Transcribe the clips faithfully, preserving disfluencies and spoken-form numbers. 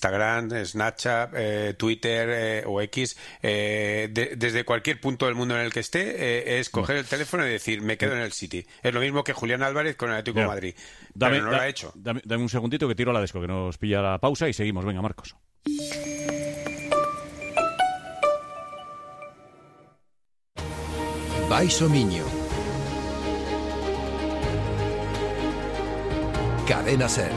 Instagram, Snapchat, eh, Twitter eh, o X, eh, de, desde cualquier punto del mundo en el que esté, eh, es coger el teléfono y decir, me quedo en el City. Es lo mismo que Julián Álvarez con el Atlético de Madrid. Dame, pero no da, lo ha hecho. Dame, dame un segundito que tiro la desco, que nos pilla la pausa y seguimos. Venga, Marcos. Baixo Miño. Cadena Ser.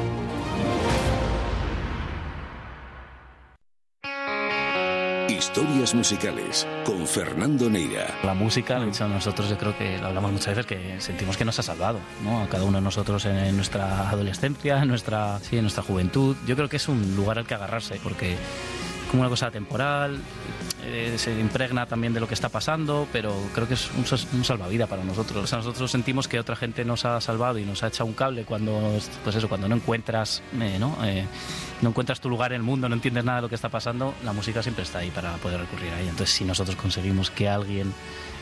Historias musicales con Fernando Neira. La música, nosotros yo creo que lo hablamos muchas veces, que sentimos que nos ha salvado, ¿no? A cada uno de nosotros en nuestra adolescencia, en nuestra, sí, en nuestra juventud. Yo creo que es un lugar al que agarrarse, porque como una cosa temporal, eh, se impregna también de lo que está pasando, pero creo que es un, un salvavidas para nosotros. O sea, nosotros sentimos que otra gente nos ha salvado y nos ha echado un cable cuando, pues eso, cuando no encuentras, eh, ¿no? Eh, no encuentras tu lugar en el mundo, no entiendes nada de lo que está pasando, la música siempre está ahí para poder recurrir a ella. Entonces, si nosotros conseguimos que alguien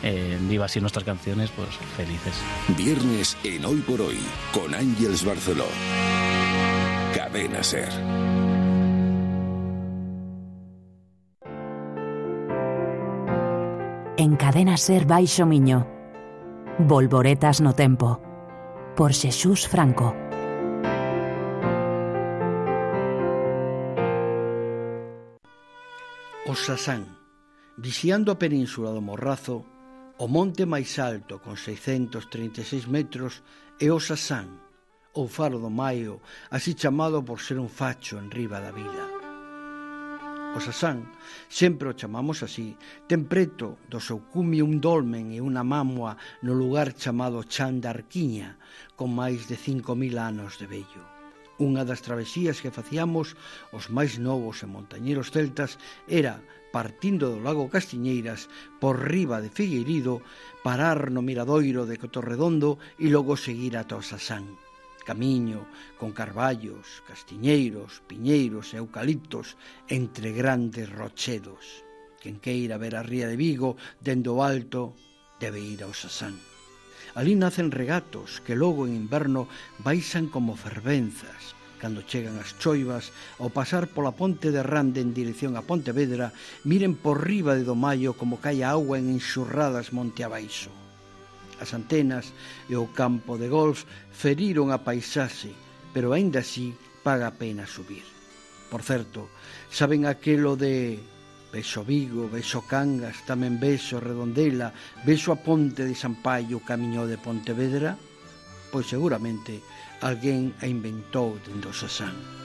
eh, viva así nuestras canciones, pues felices. Viernes en Hoy por Hoy, con Ángeles Barceló. Cadena Ser. En Cadena Ser Baixo Miño. Volvoretas no tempo. Por Xesús Franco. O Sasán, vixiando a península do Morrazo, o monte máis alto con seiscentos treinta e seis metros é o Sasán, ou Faro do Maio, así chamado por ser un facho en riba da vila. O Sasán, sempre o chamamos así, ten preto do seu cumio un dolmen e unha mámoa no lugar chamado Chan da Arquiña, con máis de cinco mil anos de vello. Unha das travesías que facíamos os máis novos e montañeros celtas era, partindo do lago Castiñeiras, por riba de Figueirido, parar no miradoiro de Cotorredondo e logo seguir ata o Sasán. Camiño con carballos, castiñeiros, piñeiros e eucaliptos entre grandes rochedos. Quen queira ver a ría de Vigo dende o alto debe ir ao Sasán. Alí nacen regatos que logo en inverno baixan como fervenzas. Cando chegan as choivas, ao pasar pola ponte de Rande en dirección a Pontevedra, miren por riba de Domaio como cae a auga en enxurradas monte abaixo. As antenas e o campo de golf feriron a paisaxe, pero aínda así paga a pena subir. Por certo, saben aquelo de Vexo Vigo, vexo Cangas, tamén vexo Redondela, vexo a ponte de San Paio, camiño de Pontevedra? Pois seguramente alguén a inventou dende o Sasán.